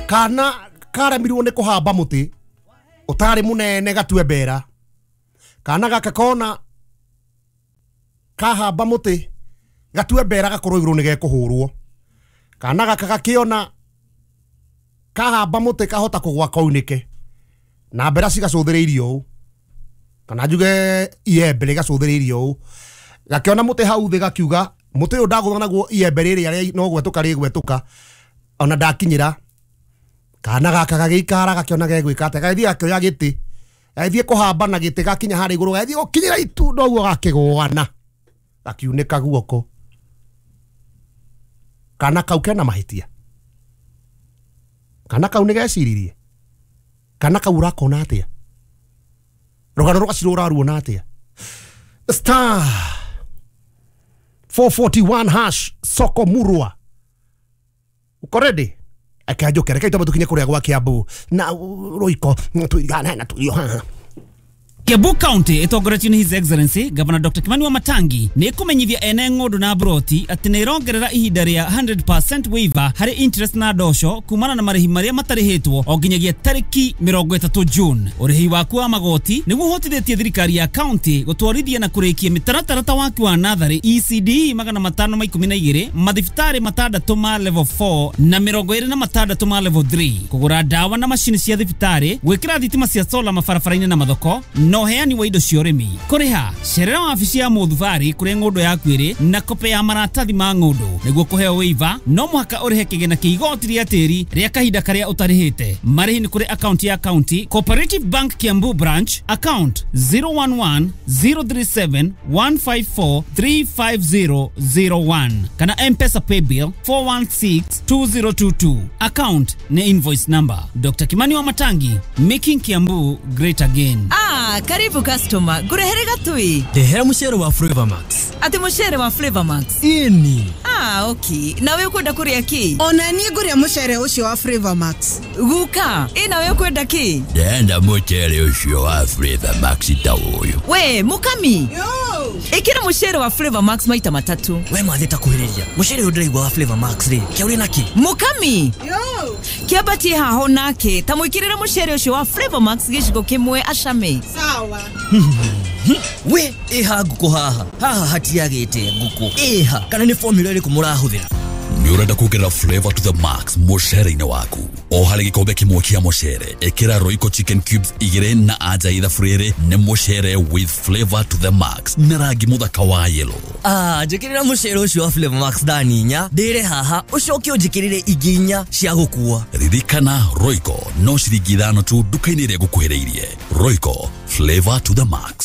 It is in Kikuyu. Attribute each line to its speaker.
Speaker 1: Kana karemirwo nĩ kũhamba mũtĩ ũtarĩ mũnene gatue mbera. Kana gaka kona kahamba mũtĩ gatue mbera gakorwo igũrũ nĩ gekũhũrwo. Kana gaka gakĩona kahamba mũtĩ kahota kũgwa kaunĩke na mbera cigacũthĩrĩirio ũũ, kana njuge iembe rĩgacũthĩrĩirio ũũ. Gakĩona mũtĩ hau thĩ gakiuga mũtĩ ũyũ ndagũtha naguo iembe rĩrĩa no gwetũka rĩgwetũka ona ndakinyĩra. Kana gaka gagĩikara gakĩona gegwĩka atĩa, gagĩthiĩ gakĩoya gĩtĩ, gagĩthiĩ kũhamba na gĩtĩ gakinya harĩa igũrũ, gagĩthiĩ gũkinyĩra itunda ũguo gakĩgũana gakiunĩka guoko. Kana kau kena mahĩtia? Kana kau nĩ geciririe? Kana kau ũrakona atĩa? Rũgano rwa Gacirũ ũraruona atĩa? Star 441 hash soko murwa. Uko ready? Akanjoke reke twambe tukinye kuria gwa Kiambu na Royco tuigane na turio haha.
Speaker 2: Kiambu County ĩtongoretio nĩ His Excellency Governor Dr. Kimani Wamatangi nĩ ĩkũmenyithia ene ng'ũndũ na broti atĩ nĩ ĩrongerera ihinda rĩa 100% waiver harĩ interest na ndosho kumana na marĩhi marĩa matarĩhĩtwo o nginyagia tarĩki 30 June. Ũrĩhi waku wa magoti nĩguo ũhotithĩtie thirikari ya county gũtwarithia na kũrĩkia mĩtaratara ta waki wa natharĩ ECD 512, mathibitarĩ 6 ma level 4 na 26 ma level 3, kũgũra ndawa na macini cia thibitarĩ, gwĩkĩra thitima cia solar mabarabara-inĩ na mathoko, na ũheani wa indo cia ũrĩmi. Kũrĩha cerera wabici ya mũthubarĩ kũrĩa ng'ũndũ yaku ĩrĩ na kope ya maratathi ma ng'ũndũ. Nĩguo kũheo waiver no mũhaka ũrĩhe kĩgĩna kĩa igoti rĩa tĩri rĩa kahinda karĩa ũtarĩhĩte. Marĩhi nĩ kũrĩ akaunti ya county Cooperative Bank Kiambu branch account 011 037 154 35001 kana M-Pesa paybill 416 2022. Account ni invoice number. Dr. Kimani Wamatangi, making Kiambu great again.
Speaker 3: Ah, karibu customer. Ngurehere gatui.
Speaker 4: Ndehera mucere wa Flavor Max.
Speaker 3: Ati mucere wa Flavor Max.
Speaker 4: Ini.
Speaker 3: Ah, okay. Nawe ukwenda kuria ki?
Speaker 5: Ona niĩ ngũrĩa mucere ũcio wa Flavor Max.
Speaker 3: Guka, ĩ nawe ukwenda ki?
Speaker 6: Ndenda mucere ũcio wa Flavor Max ta ũyũ.
Speaker 3: We, mukami.
Speaker 5: Yo.
Speaker 3: Ĩkĩra mucere wa Flavor Max maita matatu.
Speaker 4: We mathe ta kuhĩrĩria. Mucere ũyũ ndĩraigua wa Flavor Max rĩ, kĩa ũrĩ naki?
Speaker 3: Mukami.
Speaker 5: Yo.
Speaker 3: Kĩambatie haho nake, ta mwĩkĩrĩre mucere ũcio wa Flavor Max gĩciko kĩmwe acame.
Speaker 5: Sawa.
Speaker 4: We, ĩha ngũkũ haha. Haha hatiagĩte ngũkũ. Ĩha, kana nĩ formula ĩrĩkũ mũrahũthĩra?
Speaker 6: Nĩ ũrenda kuongerera flavor to the max mũcere-inĩ waku? O harĩ gĩkombe kĩmwe kĩa mũcere ĩkĩra Royco chicken cubes 2 na anja ithabu rĩrĩ nĩ mũcere with flavor to the max na rangi mũthaka wa yellow.
Speaker 4: Ah, njĩkĩrĩra mũcere ũcio wa Flavor Max thani 4 ndĩre haha ũcoke ũnjĩkĩrĩre ingĩ 4 cia gũkua.
Speaker 6: Ririkana Royco no ciringi 5 tu nduka-inĩ ĩrĩa ĩgũkuhĩrĩirie. Royco, flavor to the max.